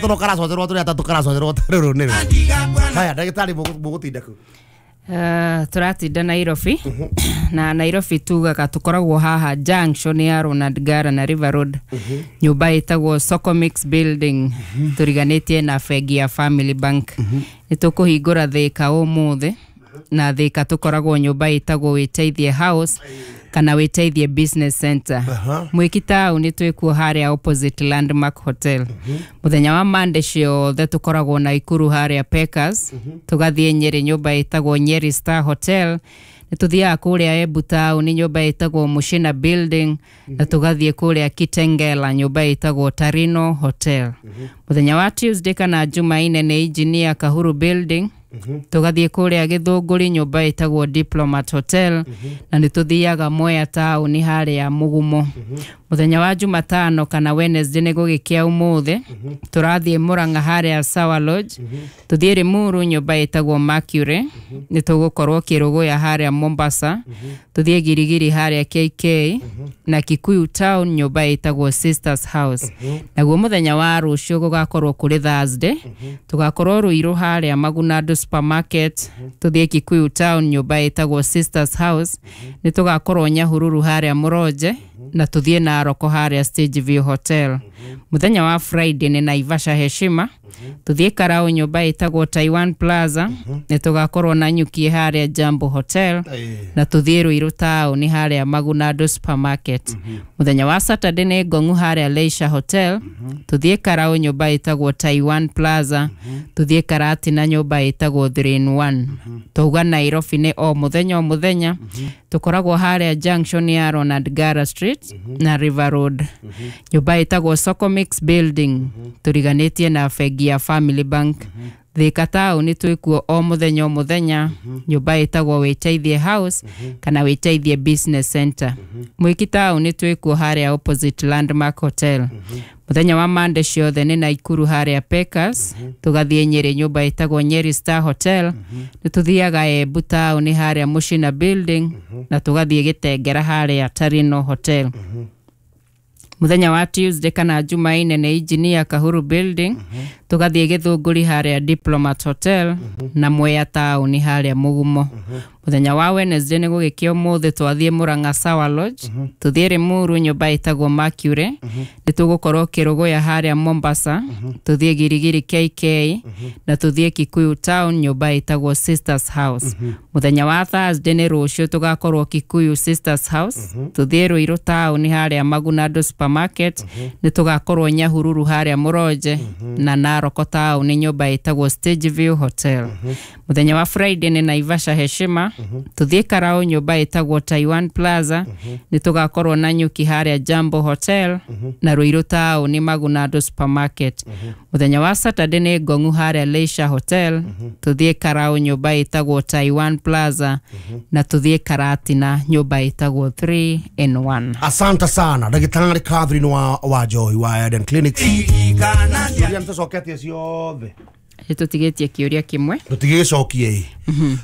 Toro karacocerwo tũrĩ atatũ karacocerwo rũrũ nĩ rũ. Haya, ndagĩtarĩ, mũgũtinda kũ? Tũratinda Nairobi, na Nairobi tugaga tũkoragwo haha junction ya Ronald Ngara na River Road, nyũmba ĩtagwo Socomix Building, tũriganĩtie na bengi ya Family Bank. Nĩ tũkũhingũra Thĩka ũmũthĩ, na Thĩka tũkoragwo nyũmba ĩtagwo Wĩteithie House kana Wĩteithie Business Center. Mwĩki taũni twĩkuo harĩa opposite Landmark Hotel. Mũthenya wa Monday ciothe tũkoragwo Naikuru harĩa Pekas, tũgathiĩ Nyĩrĩ nyũmba ĩtagwo Nyeri Star Hotel, nĩ tũthiaga kũrĩa Embu taũni nyũmba ĩtagwo Mushina Building, na tũgathiĩ kũrĩa Kitengela nyũmba ĩtagwo Tarino Hotel. Mũthenya wa Tuesday kana Jumaine nĩ Engineer Kahuru Building, tũgathiĩ kũrĩa Gĩthũngũri nyũmba ĩtagwo Diplomat Hotel, na nĩ tũthiaga Mwea taũni harĩa Mũgumo. Mũthenya wa Jumatano kana Wednesday, nĩ gũgĩkĩa ũmũthĩ, tũrathiĩ Mũrang'a harĩa Sawa Lodge, tũthiĩ Limuru nyũmba ĩtagwo Mercury, nĩ tũgũkorwo Kĩrũgũya harĩa Mombasa, tũthiĩ Girigiri harĩa KK, na Kikuyu Town nyũmba ĩtagwo Sisters House. Naguo mũthenya wa rũciũ gũgakorwo kũrĩ Thursday, tũgakorwo Ruiru harĩa Magunandu Supermarket, tũthiĩ Kikuyu Town nyũmba ĩtagwo Sisters House, nĩ tũgakorwo Nyahururu harĩa Mũronje, na tũthiĩ Naroko harĩa Stage View Hotel. Mũthenya wa Friday nĩ Naivasha Heshima, tũthiĩ Karau nyũmba ĩtagwo Taiwan Plaza, nĩ tũgakorwo Nanyuki harĩa Jambo Hotel, na tũthiĩ Ruiru taũni harĩa Magunandu Supermarket. Mũthenya wa Saturday nĩ Ngong'u harĩa Leisure Hotel, tũthiĩ Karau nyũmba ĩtagwo Taiwan Plaza, tũthiĩ Karatina nyũmba ĩtagwo 3 in 1. Twauga Nairobi nĩ o mũthenya o mũthenya tũkoragwo harĩa junction ya Ronald Ngara Street na River Road, nyũmba ĩtagwo Socomix Building, tũriganĩtie na bengi ya Family Bank. Thika taũni twĩkuo o mũthenya o mũthenya, nyũmba ĩtagwo Wĩteithie House kana Wĩteithie Business Center. Mwĩki taũni twĩkuo harĩa opposite Landmark Hotel. Mũthenya wa Monday ciothe nĩ Naikuru harĩa Pekas, tũgathiĩ Nyĩrĩ nyũmba ĩtagwo Nyeri Star Hotel, nĩ tũthiaga Embu taũni harĩa Mushina Building, na tũgathiĩ Gĩtengera harĩa Tarino Hotel. Mũthenya wa Tuesday kana Jumaine nĩ Engineer Kahuru Building, tũgathiĩ Gĩthũngũri harĩa Diplomat Hotel, na Mwea taũni harĩa Mũgumo. Mũthenya wa Wednesday, nĩ gũgĩkĩa ũmũthĩ, twathiĩ Mũrang'a Sawa Lodge, tũthiĩ Limuru nyũmba ĩtagwo Mercury, nĩ tũgũkorwo Kĩrũgũya harĩa Mombasa, tũthiĩ Girigiri KK, na tũthiĩ Kikuyu Town nyũmba ĩtagwo Sisters House. Mũthenya wa Thursday, nĩ rũciũ, tũgakorwo Kikuyu Sisters House, tũthiĩ Ruiru taũni harĩa Magunandu Supermarket, nĩ tũgakorwo Nyahururu harĩa Mũronje, na Naroko taũni nyũmba ĩtagwo Stage View Hotel. Mũthenya wa Friday nĩ Naivasha Heshima, tũthiĩ Karau nyũmba ĩtagwo Taiwan Plaza, nĩ tũgakorwo Nanyuki harĩa Jambo Hotel, na Ruiru taũni Magunandu Supermarket. Mũthenya wa Saturday nĩ Ngong'u harĩa Leisure Hotel, tũthiĩ Karau nyũmba ĩtagwo Taiwan Plaza, na tũthiĩ Karatina nyũmba ĩtagwo 3 in 1. Asante sana, ndagĩtarĩ Catherine wa Joy wa Eden Clinics. Iria nĩtũcoketie ciothe? Nĩ tũtigĩtie kĩũria kĩmwe. Tũtigĩgĩcokie,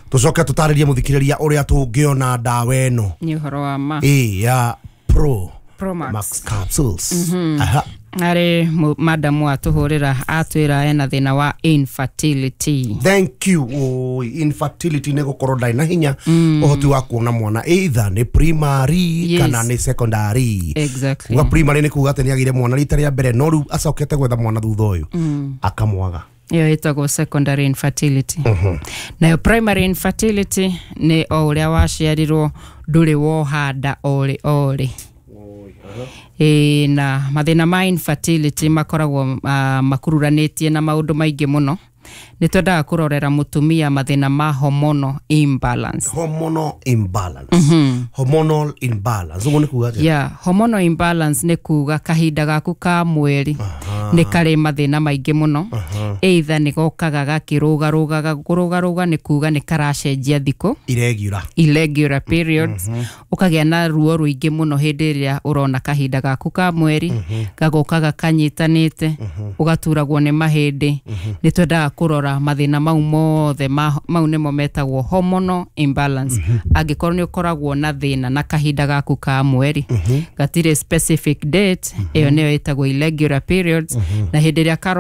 tũcoke tũtarĩrie mũthikĩrĩria ũrĩa tũngĩona ndawa ĩno. Nĩ ũhoro wa ma. Ĩ ya Pro Promax. Max capsules. Aha. Arĩ madamu atũhũrĩra atwĩra ena thĩna wa infertility. Thank you. Oi, infertility nĩ gũkorwo ndarĩ na hinya ũhoti wa kuona mwana, either nĩ primary kana nĩ secondary. Kuga primary nĩ kuga atĩ nĩ agĩire mwana rita rĩa mbere, no rĩu acokete gwetha mwana thutha ũyũ akamwaga. Ĩyo ĩtagwo secondary infertility. Nayo primary infertility nĩ o ũrĩa waciarirwo ndũrĩ woha nda orĩ orĩ. Ĩĩ, na mathĩna ma infertility makoragwo makururanĩtie na maũndũ maingĩ mũno. Nĩ twendaga kũrorera mũtumia mathĩna ma hormonal imbalance. Hormonal imbalance, hormonal imbalance, ũguo nĩ kuga atĩa? Yeah, hormonal imbalance nĩ kuga kahinda gaku ka mweri nĩ karĩ mathĩna maingĩ mũno, either nĩ gokaga gakĩrũgarũgaga. Kũrũgarũga nĩ kuga nĩ karacenjia thikũ. Irregular. Irregular periods, ũkagĩa na ruo rũingĩ mũno hĩndĩ ĩrĩa ũrona kahinda gaku ka mweri, gagokaga kanyitanĩte, ũgaturagwo nĩ mahĩndĩ. Nĩ twendaga kũrora mathĩna mau mothe mau nĩmo metagwo hormonal imbalance. Angĩkorwo nĩ ũkoragwo na thĩna na kahinda gaku ka mweri gatirĩ specific date, ĩyo nĩyo ĩtagwo irregular periods, na hĩndĩ ĩrĩa karo